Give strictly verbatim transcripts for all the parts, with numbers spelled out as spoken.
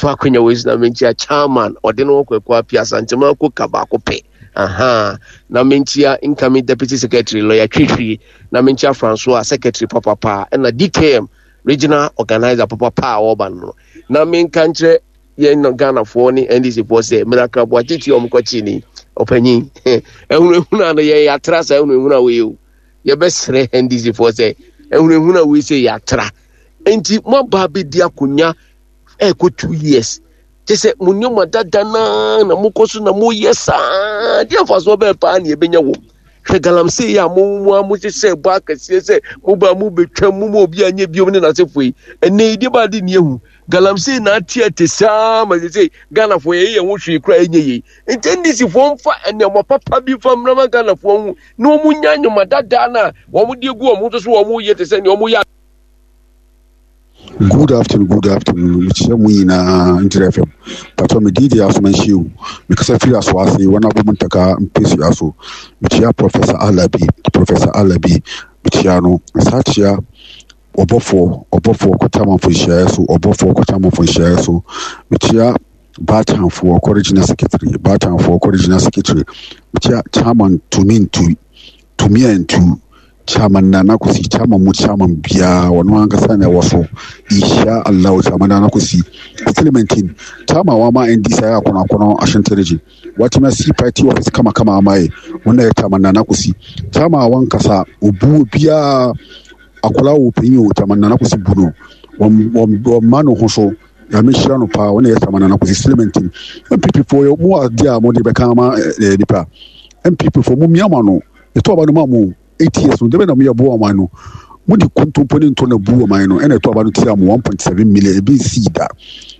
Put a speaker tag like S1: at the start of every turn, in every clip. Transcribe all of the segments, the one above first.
S1: Memfa akwanya wei so na menkyia chairman ɔde no Kwaku Apia Asantema koka baako pɛ. Aha, na menkyia incoming deputy secretary lawyer Twitwi, na menkyia Francois secretary papapa, ɛna D K M regional organizer papapa a wɔba no no na menka nkyerɛ yɛn Ghanafoɔ ne N D C foɔ sɛ Miracle Boakye tia ɔmo kɔkye ni ɔpanyin ehunahuna no yɛ yɛatra saa ehunahuna wei o. Yɛbɛsrɛ N D C foɔ sɛ ehunahuna wei sɛ yɛatra, nti mo aba abɛdi akonnwa ɛɛkɔ two years kyɛ sɛ mo nneɛma dada naa na mokɔ so na moyɛ saa deɛ, mfasoɔ bɛɛ paa ne yɛbɛnya wɔ mu? Hwɛ galamsey yi a mo mo a mo hyehyɛ bɔ akɛseɛ sɛ mo ba mo betwa mo mo obi anyɛ biom ne n'asefo yi, ɛnɛ yi deɛ ba de ne ehu galamsey na ate ate saa ma sɛ sɛ Ghanafoɔ yɛyɛ yɛn ho hwee kora ɛnyɛ yie. Nti N D C foɔ mfa nneɛma papa bi fa mmrama Ghanafoɔ ho na wɔn nya nnwoma dadaa na wɔn de egu wɔn ho so so wɔn yɛ te sɛ nea wɔn yɛ.
S2: Good afternoon, good afternoon. Mekyerɛ mu nyinaa Nkyerɛ F M. Patɔ me din de Asomanhyiw. Mekasa firi Asoase, wɔn abɔ mu ntaka mpesua so. Mekyia Professor Alabi, Professor Alabi. Mekyia no. Nsa kyia ɔbɔfoɔ, ɔbɔfoɔ kɔtamanfo nhyiaeɛ so, ɔbɔfoɔ kɔtamanfo nhyiaeɛ so. Mekyia Baatanfoɔ kɔ regional secretary, Baatanfoɔ kɔ regional secretary. Mekyia chairman Tumi Ntu, Tumi Ntu. Chairman Nana Kwesi, chairman mu chairman biara ɔno ankasa na ɛwɔ so. Insha Allah, chairman Nana Kwesi still maintain chairman wama N D C ayɛ akɔnɔ akɔnɔ Ashanti Region, watumi asi party office kamakama ama yɛ. Wɔn na yɛ chairman Nana Kwesi, chairman a wankasa obu obiara, akwadaa wɔ panyin o, chairman Nana Kwesi bu no, wɔn wɔn wɔn mma no ho so. Nyame hyira no paa. Wɔn na yɛ chairman Nana Kwesi, still maintain. N P P foɔ, mu adeɛ a wɔde bɛka ama ɛɛ nipa N P P foɔ mu miama no ɛtɔ aba no ma mo eight years no dɛbɛ na mo yɛ bo ɔman no, mo de kontompo ne ntɔ na bu ɔman no, ɛna ɛtɔ aba no tia mo one point seven million ebi nsi da.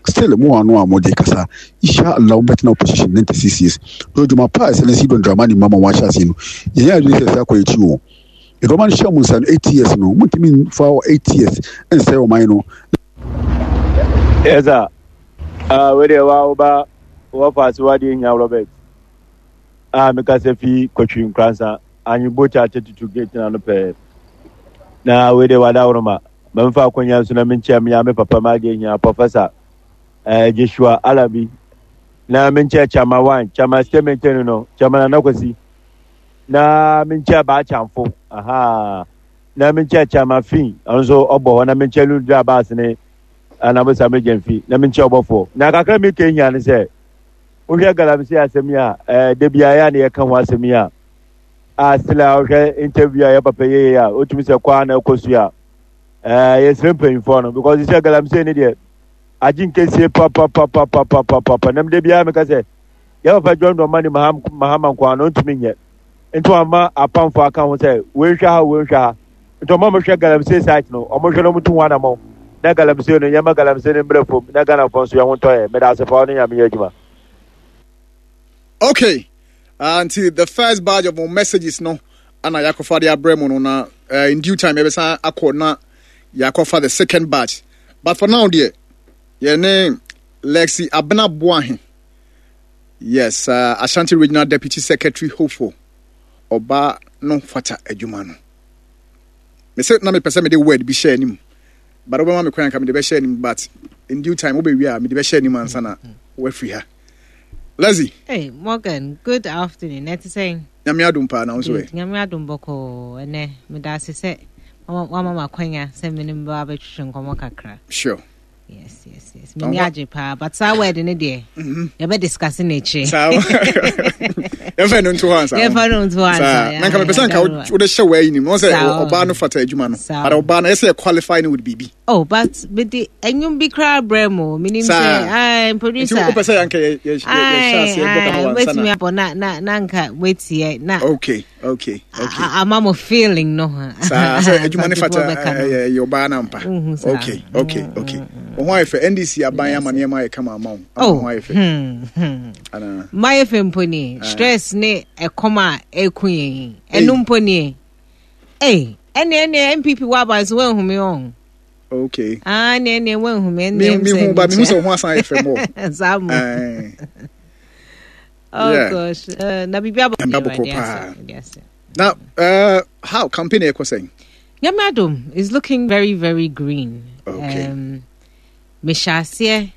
S2: Still mo ano a mo de kasa. Insha Allah, mo bɛtena opposition ninety six years na odwuma pa a ɛsɛ ne John Dramani Mahama wɔn ahyɛ ase no, yɛn yɛ adwene sɛ ɛsɛ akɔ akyi o. Ɛdɔm no hyɛ mo nsa no eight years no, mo ntumi fa eight years nsɛe ɔman no.
S3: Yes sir. Uh, wei deɛ wa woba wɔfa ase wadeɛ hia Robert a mekasa fi Kɔtwi Nkransa Anwebokya thirty-two gate na no pɛɛ na wei deɛ wada woroma mamfa akɔnya nso na menkyɛ mea me papa ma adeɛ hia Professor eh, Joshua Alabi, na menkyɛ Chama one Chama stay maintain no Chama Nana Kwasi, na menkyɛ Baakyamfo aha, na menkyɛ Chama Fin ɔno nso ɔbɔ hɔ, na menkyɛ Ludra Baas ne anabosa megyamfi, na menkyɛ ɔbɔfoɔ. Na kakra meka hia ne sɛ wohwɛ galamsey asɛm yi a ɛɛ da biara yɛ a na yɛka ho asɛm yi a a still a wohwɛ interview a yɛ papa yɛyɛ a wotumi sɛ kɔ a na ɛkɔ so a ɛɛ yɛsrɛ mpanyinfoɔ no because sɛ galamsey ne deɛ agye nkesie papapapapapapa. Nam da biara meka sɛ yɛ papa John Dramani Mahama nko ano ntumi nyɛ, nti wama apamfo aka ho sɛ wei nhwɛ ha, wei nhwɛ ha, nti ɔmo a mohwɛ galamsey site no, ɔmo hwɛ no, ɔmo tu ho anamɔ na galamsey no yɛma galamsey no mmerɛ fam na Ghanafoɔ nso yɛn ho ntɔ yɛ. Meda ase pa, ɔne Nyame yɛ adwuma.
S4: Okay, uh, nti the first batch of messages no ana yɛakɔfa de abrɛ mu no, na uh, in due time yɛbɛsan akɔ na yɛakɔfa the second batch, but for now deɛ yɛne Lexi Abena Boahe, yes, uh, Ashanti Regional Deputy Secretary hopeful, ɔbaa no fata adwuma no. Mesɛ na mepɛ sɛ mede word bi hyɛ anim, but wobɛma me kwan anka mede bɛhyɛ anim, but in due time wobɛwie a mede bɛhyɛ anim ansa na woafiri ha. Leslie.
S5: Hey, Morgan, good afternoon. Ɛte sɛn?
S4: Nyame adom paa, na wo nso ɛ?
S5: Good. Nyame adom bɔkɔɔ. Ɛnɛ, meda ase sɛ wama ma akwanya sɛ me ne mbɛ abɛtwetwe nkɔmmɔ kakra.
S4: Sure.
S5: Yes, yes, yes. M'ani agye paa, but saa word ne deɛ, yɛbɛ discuss n'akyire.
S4: Saa yɛmfa no nto hɔ ansa.
S5: Yɛmfa no nto hɔ ansa.
S4: Na nka mepɛ sɛ nka wode hyɛ wɔ ayi nim na sɛ ɔbaa no fata adwuma no, but ɔbaa no ɛsɛ yɛ qualify no with biribi.
S5: Oh, but mede ɛnwom bi koraa brɛ mu. Menim sɛ, ai, producer.
S4: Nti wopɛ sɛ yɛnka yɛhyɛ aseɛ bɔ kama wansa
S5: na. Mɛtumi abɔ na na na nka wetie na.
S4: Okay, okay, okay.
S5: Ama mo feeling no.
S4: Saa sɛ adwuma ne fata ɛyɛ ɔbaa no ampa. Okay, okay, okay. Wo ho ayɛ fɛ. N D C aban ama nneɛma ayɛ kama ama wo. Ama ho ayɛ fɛ.
S5: Anaa? Mayɛ fɛ mpo nie. Stress ne ɛkɔm a ɛku yɛn. Ɛno mpo nie. Ei, ɛne ɛne N P P wɔ aban so wɔahu me ɔn.
S4: Okay.
S5: Ah, ne ne wɔahu me ɛne.
S4: Me hu ba me hu sɛ wo ho asan ayɛ fɛ mɔ.
S5: Saa mo. Oh yeah. Gosh. Uh, na biribi abɔ
S4: abɔkɔ paa. Na uh, how campaign ɛkɔ sɛn?
S5: Nyame adom is looking very very green.
S4: Okay.
S5: Um, mehyɛ aseɛ